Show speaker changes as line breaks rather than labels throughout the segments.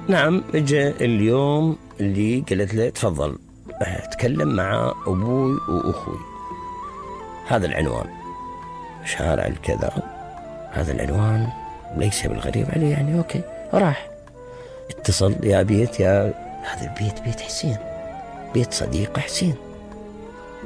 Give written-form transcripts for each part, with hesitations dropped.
نعم، اجى اليوم اللي قلت له تفضل اتكلم مع ابوي واخوي. هذا العنوان شارع الكذا، هذا العنوان ليس بالغريب عليه يعني. اوكي، راح اتصل يا بيت، يا هذا البيت بيت حسين، بيت صديق حسين،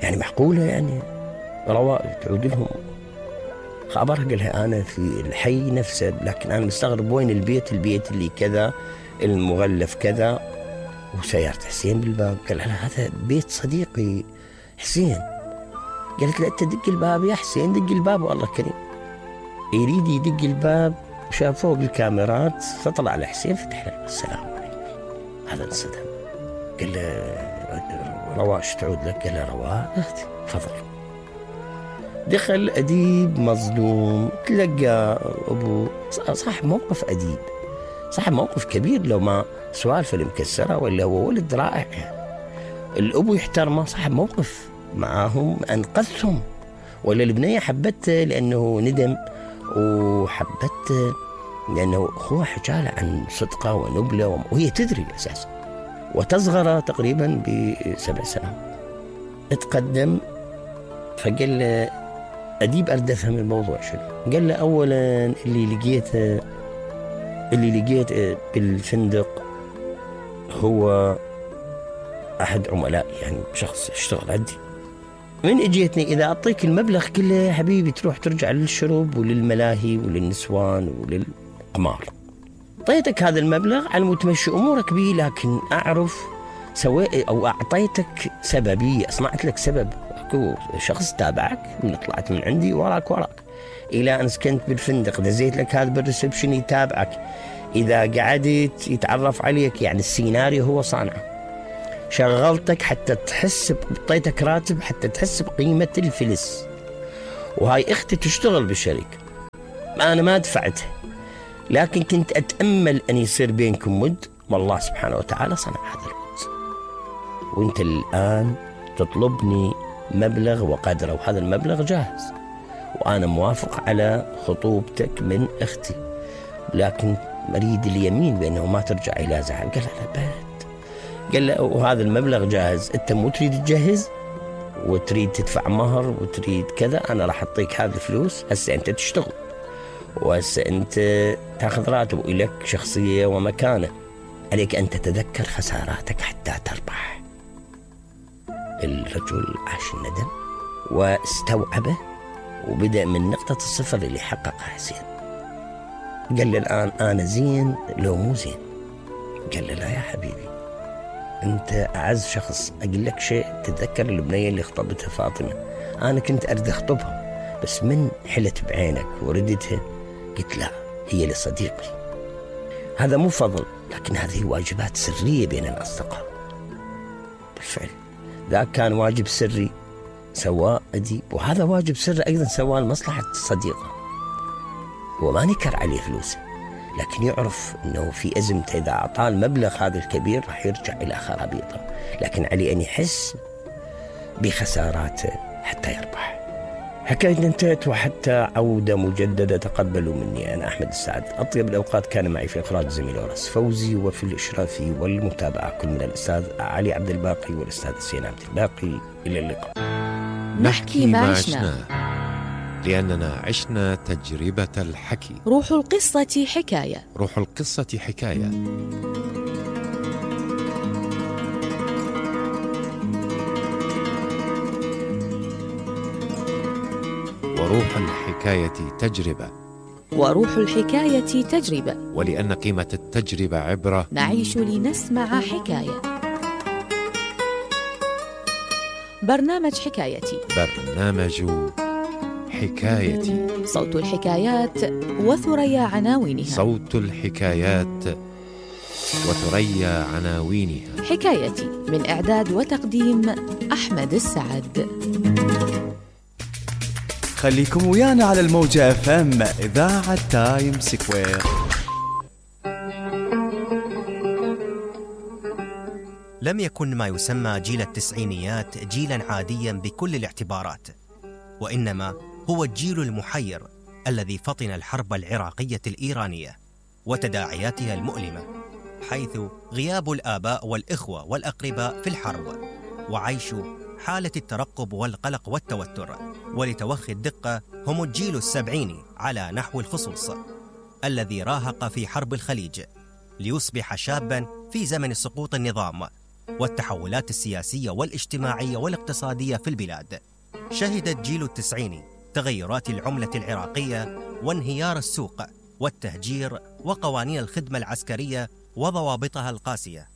يعني معقولة يعني رواء تعود لهم خبرها؟ قالها أنا في الحي نفسه، لكن أنا مستغرب وين البيت اللي كذا، المغلف كذا وسيارة حسين بالباب. قال لها هذا بيت صديقي حسين. قالت له أنت دق الباب يا حسين، دق الباب والله كريم. يريد يدق الباب، شاف فوق الكاميرات فطلع على حسين، فتح له السلام عليكم. هذا انصدم، قال له رواش تعود لك؟ قال له رواء تفضل. دخل أديب مظلوم، تلقى أبو صاحب موقف أديب، صاحب موقف كبير، لو ما سوالف المكسرة ولا هو ولد رائع. الأبو يحترمه، صاحب موقف معاهم، أنقذهم. ولا البنية حبته لأنه ندم، وحبته لأنه أخوه حكاله عن صدقه ونبله، وهي تدري أساسا، وتصغر تقريبا ب7 سنوات. اتقدم فقال له أديب أريد أفهم الموضوع شنو. قال له أولا اللي لقيته بالفندق هو أحد عملائي، يعني شخص يشتغل عندي. من اجيتني إذا أعطيك المبلغ كله يا حبيبي تروح ترجع للشرب وللملاهي وللنسوان وللقمار. أعطيتك هذا المبلغ على متمشي أمورك به، لكن أعرف أو أعطيتك سببية، أصنعت لك سبب. أكو شخص تابعك من طلعت من عندي وراك إلى أن سكنت بالفندق، دزيت لك هذا بالريسبشن يتابعك، إذا قعدت يتعرف عليك، يعني السيناريو هو صانعه. شغلتك حتى تحس، اعطيتك راتب حتى تحس بقيمة الفلس. وهاي اختي تشتغل بالشركة، أنا ما دفعتها، لكن كنت أتأمل أن يصير بينكم ود، والله سبحانه وتعالى صنع هذا الود. وانت الآن تطلبني مبلغ وقدره، وهذا المبلغ جاهز، وأنا موافق على خطوبتك من أختي، لكن مريد اليمين بأنه ما ترجع إلى زعل. قال لا بات، قال له وهذا المبلغ جاهز، أنت مو تريد تجهز وتريد تدفع مهر وتريد كذا، أنا راح أعطيك هذه الفلوس، هسه أنت تشتغل وهسه أنت تأخذ راتب، إليك شخصية ومكانة، عليك أن تتذكر خساراتك حتى تربح. الرجل عاش الندم واستوعبه، وبدأ من نقطة الصفر اللي حققها حسين. قال له الآن أنا زين لو مو زين؟ قال له لا يا حبيبي، أنت أعز شخص. أقول لك شيء، تتذكر البنية اللي خطبتها فاطمة؟ أنا كنت أريد أخطبها، بس من حلت بعينك وردتها قلت لا، هي لصديقي. هذا مو فضل، لكن هذه واجبات سرية بين الأصدقاء. بالفعل ذاك كان واجب سري سواء أديب، وهذا واجب سري أيضا سواء لمصلحة صديقه. هو ما نكر عليه فلوسه، لكن يعرف أنه في أزمته إذا أعطاه المبلغ هذا الكبير راح يرجع إلى خرابيطه، لكن عليه أن يحس بخساراته حتى يربح. حكايتنا انتهت، وحتى عودة مجددة تقبلوا مني أنا أحمد السعد. أطيب الأوقات كان معي في إخراج زميل ورس فوزي، وفي الإشراف والمتابعة كل من الأستاذ علي عبد الباقي والأستاذ حسين عبد الباقي. إلى اللقاء.
نحكي ما عشنا، لأننا عشنا تجربة الحكي.
روح القصة حكاية.
روح القصة حكاية. وروح الحكاية تجربة.
وروح الحكاية تجربة.
ولأن قيمة التجربة عبرة،
نعيش لنسمع حكاية. برنامج حكايتي.
برنامج حكايتي.
صوت الحكايات وثريا عناوينها.
صوت الحكايات وثريا عناوينها.
حكايتي من إعداد وتقديم أحمد السعد.
خليكم ويانا على الموجة FM إذاعة تايم سكوير.
لم يكن ما يسمى جيل التسعينيات جيلا عاديا بكل الاعتبارات، وإنما هو الجيل المحير الذي فطن الحرب العراقية الإيرانية وتداعياتها المؤلمة، حيث غياب الآباء والإخوة والأقرباء في الحرب، وعيش حالة الترقب والقلق والتوتر. ولتوخي الدقة، هم الجيل السبعيني على نحو الخصوص، الذي راهق في حرب الخليج ليصبح شاباً في زمن سقوط النظام والتحولات السياسية والاجتماعية والاقتصادية في البلاد. شهد الجيل التسعيني تغيرات العملة العراقية وانهيار السوق والتهجير وقوانين الخدمة العسكرية وضوابطها القاسية.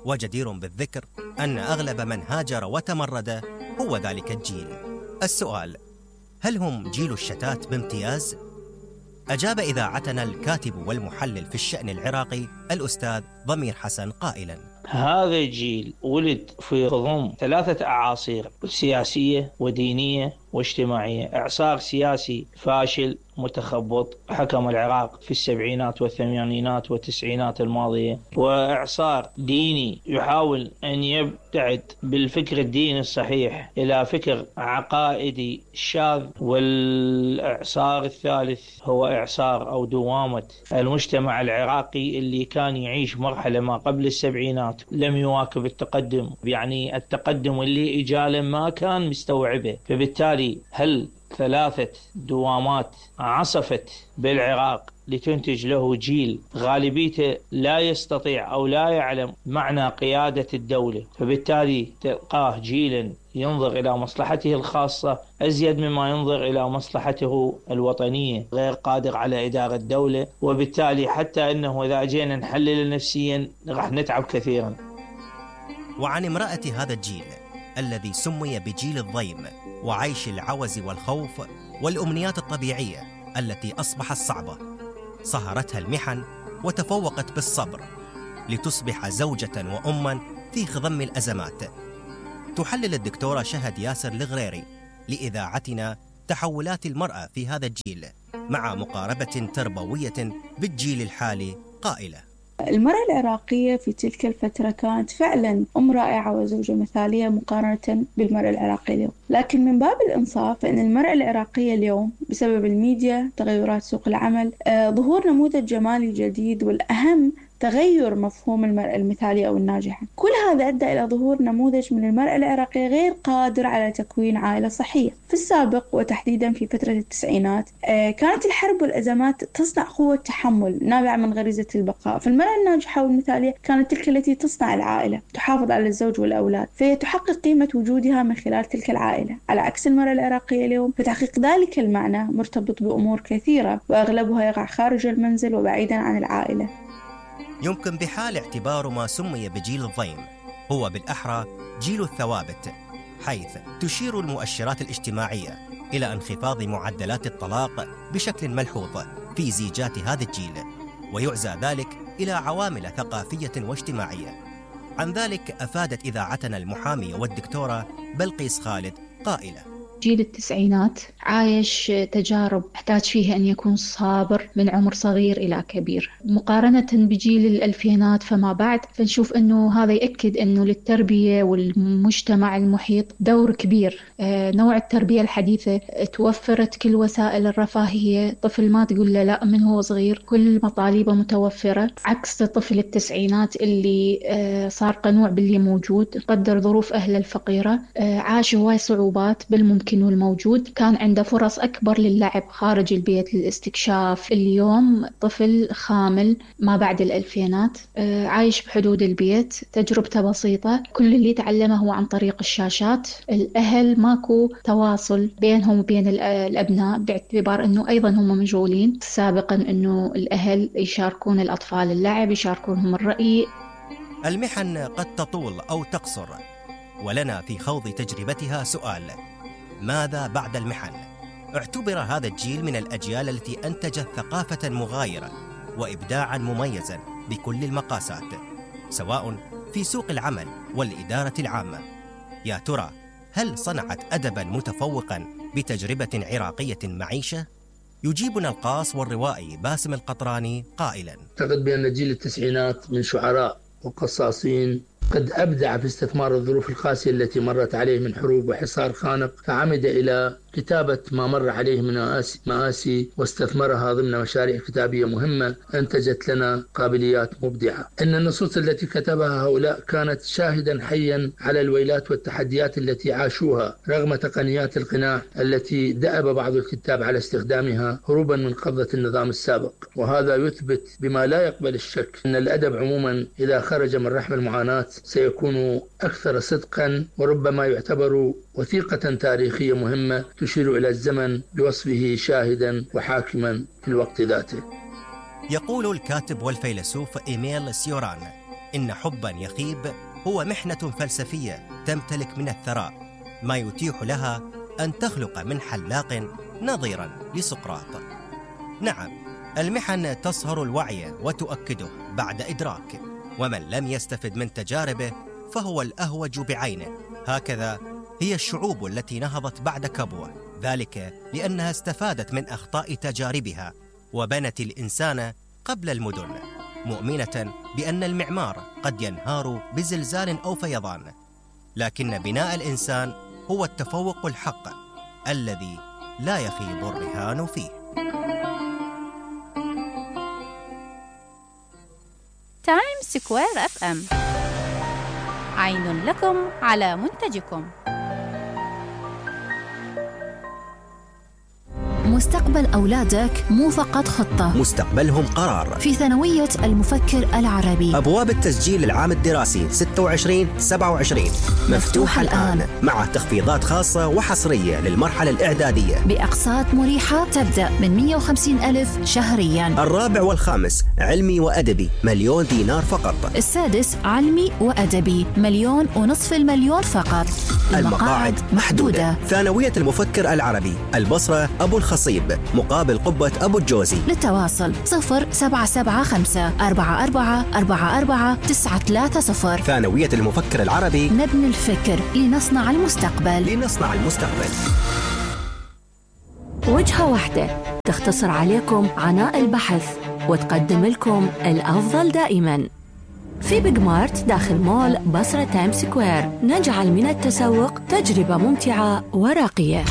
وجدير بالذكر أن أغلب من هاجر وتمرد هو ذلك الجيل. السؤال: هل هم جيل الشتات بامتياز؟ أجاب إذاعتنا الكاتب والمحلل في الشأن العراقي الأستاذ ضمير حسن قائلاً:
هذا الجيل ولد في غضم 3 أعاصير سياسية ودينية واجتماعية. إعصار سياسي فاشل متخبط حكم العراق في السبعينات والثمانينات والتسعينات الماضية، وإعصار ديني يحاول أن يبتعد بالفكر الديني الصحيح إلى فكر عقائدي شاذ. والإعصار الثالث هو إعصار أو دوامة المجتمع العراقي اللي كان يعيش مرحلة ما قبل السبعينات، لم يواكب التقدم، يعني التقدم اللي إجاله ما كان مستوعبه. فبالتالي هل 3 دوامات عصفت بالعراق لتنتج له جيل غالبيته لا يستطيع أو لا يعلم معنى قيادة الدولة، فبالتالي تلقاه جيلا ينظر إلى مصلحته الخاصة أزيد مما ينظر إلى مصلحته الوطنية، غير قادر على إدارة الدولة. وبالتالي حتى أنه إذا جينا نحلل نفسيا راح نتعب كثيرا.
وعن امرأة هذا الجيل الذي سمي بجيل الضيم، وعيش العوز والخوف والأمنيات الطبيعية التي أصبحت صعبة، صهرتها المحن وتفوقت بالصبر لتصبح زوجة وأما في خضم الأزمات. تحلل الدكتورة شهد ياسر الغريري لإذاعتنا تحولات المرأة في هذا الجيل مع مقاربة تربوية بالجيل الحالي قائلة:
المرأة العراقية في تلك الفترة كانت فعلا أم رائعة وزوجة مثالية مقارنة بالمرأة العراقية اليوم. لكن من باب الإنصاف فإن المرأة العراقية اليوم بسبب الميديا، تغيرات سوق العمل، ظهور نموذج جمالي جديد، والأهم تغير مفهوم المرأة المثالية أو الناجحة، كل هذا أدى إلى ظهور نموذج من المرأة العراقية غير قادر على تكوين عائلة صحية. في السابق وتحديدا في فترة التسعينات كانت الحرب والأزمات تصنع قوة تحمل نابعة من غريزة البقاء، فالمرأة الناجحة والمثالية كانت تلك التي تصنع العائلة، تحافظ على الزوج والأولاد، فهي تحقق قيمة وجودها من خلال تلك العائلة، على عكس المرأة العراقية اليوم. فتحقيق ذلك المعنى مرتبط بأمور كثيرة وأغلبها يقع خارج المنزل وبعيدا عن العائلة.
يمكن بحال اعتبار ما سمي بجيل الضيم هو بالأحرى جيل الثوابت، حيث تشير المؤشرات الاجتماعية إلى انخفاض معدلات الطلاق بشكل ملحوظ في زيجات هذا الجيل، ويعزى ذلك إلى عوامل ثقافية واجتماعية. عن ذلك أفادت إذاعتنا المحامية والدكتورة بلقيس خالد قائلة:
جيل التسعينات عايش تجارب يحتاج فيها أن يكون صابر من عمر صغير إلى كبير، مقارنة بجيل الألفينات فما بعد. فنشوف أنه هذا يأكد أنه للتربية والمجتمع المحيط دور كبير. نوع التربية الحديثة توفرت كل وسائل الرفاهية، طفل ما تقول له لا من هو صغير، كل مطالبه متوفرة، عكس طفل التسعينات اللي صار قنوع باللي موجود، قدر ظروف أهله الفقيرة، عاش هواي صعوبات بالممكن والموجود، كان عنده فرص أكبر للعب خارج البيت للاستكشاف. اليوم طفل خامل ما بعد الألفينات عايش بحدود البيت، تجربته بسيطة، كل اللي تعلمه هو عن طريق الشاشات. الأهل ماكو تواصل بينهم وبين الأبناء، باعتبار أنه أيضا هم مشغولين. سابقا أنه الأهل يشاركون الأطفال اللعب، يشاركونهم الرأي.
المحن قد تطول أو تقصر، ولنا في خوض تجربتها سؤال: ماذا بعد المحن؟ اعتبر هذا الجيل من الأجيال التي أنتجت ثقافة مغايرة وإبداعا مميزا بكل المقاسات، سواء في سوق العمل والإدارة العامة. يا ترى هل صنعت أدبا متفوقا بتجربة عراقية معيشة؟ يجيبنا القاص والروائي باسم القطراني قائلا:
أعتقد بأن جيل التسعينات من شعراء وقصاصين قد أبدع في استثمار الظروف القاسية التي مرت عليه من حروب وحصار خانق، فعمد إلى كتابة ما مر عليه من مآسي واستثمرها ضمن مشاريع كتابية مهمة أنتجت لنا قابليات مبدعة. إن النصوص التي كتبها هؤلاء كانت شاهدا حيا على الويلات والتحديات التي عاشوها رغم تقنيات القناع التي دأب بعض الكتاب على استخدامها هروبا من قبضة النظام السابق. وهذا يثبت بما لا يقبل الشك أن الأدب عموما إذا خرج من رحم المعاناة سيكون أكثر صدقا، وربما يعتبر وثيقة تاريخية مهمة تشير إلى الزمن بوصفه شاهدا وحاكما في الوقت ذاته.
يقول الكاتب والفيلسوف إيميل سيوران إن حبا يخيب هو محنة فلسفية تمتلك من الثراء ما يتيح لها أن تخلق من حلاق نظيرا لسقراط. نعم، المحن تصهر الوعي وتؤكده بعد إدراك، ومن لم يستفد من تجاربه فهو الأهوج بعينه. هكذا هي الشعوب التي نهضت بعد كبوة، ذلك لأنها استفادت من أخطاء تجاربها وبنت الإنسان قبل المدن، مؤمنة بأن المعمار قد ينهار بزلزال أو فيضان، لكن بناء الإنسان هو التفوق الحق الذي لا يخيب الرهان فيه.
تايم سكوير FM، عين لكم على منتجكم.
مستقبل أولادك مو فقط خطة،
مستقبلهم قرار.
في ثانوية المفكر العربي
أبواب التسجيل العام الدراسي 26-27 مفتوحة الآن مع تخفيضات خاصة وحصرية للمرحلة الإعدادية
بأقساط مريحة تبدأ من 150,000 شهرياً.
الرابع والخامس علمي وأدبي 1,000,000 دينار فقط.
السادس علمي وأدبي 1,500,000 فقط.
المقاعد محدودة. ثانوية المفكر العربي البصرة أبو الخصيب مقابل قبة أبو الجوزي.
للتواصل 0775-4444-930.
ثانوية المفكر العربي،
نبني الفكر لنصنع المستقبل. وجهة واحدة تختصر عليكم عناء البحث وتقدم لكم الأفضل دائما. في بيج مارت داخل مول بصرة تايم سكوير نجعل من التسوق تجربة ممتعة وراقية.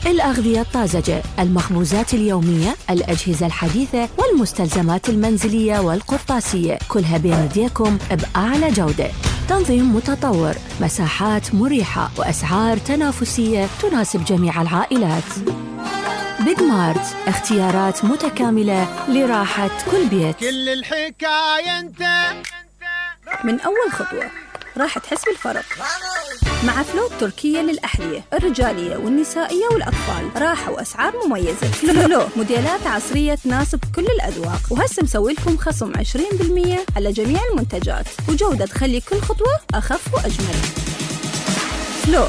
الأغذية الطازجة، المخبوزات اليومية، الأجهزة الحديثة والمستلزمات المنزلية والقرطاسية، كلها بين يديكم بأعلى جودة. تنظيم متطور، مساحات مريحة وأسعار تنافسية تناسب جميع العائلات. بيج مارت، اختيارات متكاملة لراحة كل بيت.
كل الحكاية انت
من أول خطوة راح تحس بالفرق مع فلو تركية للأحذية الرجالية والنسائية والأطفال. راحة وأسعار مميزة. فلو موديلات عصرية تناسب كل الأذواق، وهسه مسوي لكم خصم 20% على جميع المنتجات، وجودة تخلي كل خطوة أخف وأجمل. فلو